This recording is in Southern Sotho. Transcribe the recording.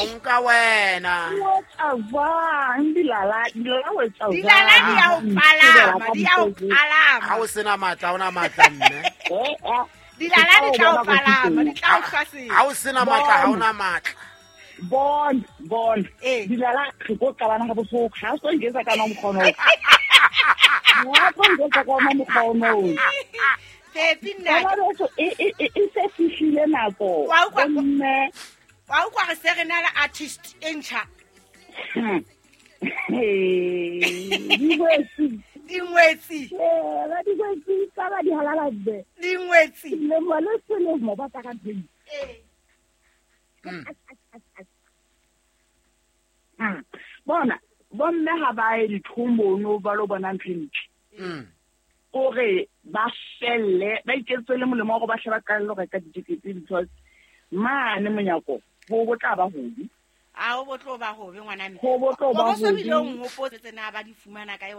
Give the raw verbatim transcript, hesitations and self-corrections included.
o nka wena. O etsa jwang dilala, dilala o etsa jwang? Dilala di a o palama, di a o palama. Ha o sena matla, ha ona matla mme. Eh, eh. Dilala di tla o palama, di tla o hlasela. Ha o sena matla, ha ona matla. Bon, bon. Eh. Dilala re tlo qabana ha bohloko. Ha o so nketsa ka ona mokgwa ono. Ha o so nketsa ka ona mokgwa ono. Pepi nna. Bana beso, e, e, e, e se fihlile nako. Wa utlwa- Bomme. Wa utlwa re se re na le artist e ntjha. Hmm. Dingwetsi. Dingwetsi. Eh, ba dingwetsi tsa ba di halala be. Dingwetsi. Selemo le selemo ba tla ka teng. Eh. Mm. Hmm. Bona, bomme ha ba ye dithomono ba lo bona ntho e ntle. Mm. Kore ba felle, ba iketse le molemo wa hore ba hle ba qalelle ho reka ditekete because mane monyako ho bo tla ba hobe. A ho bo tlo ba hobe ngwana mme. Ho bo tlo ba Ho bo so hobe. bile o nhopotse tsena ba di fumana kae.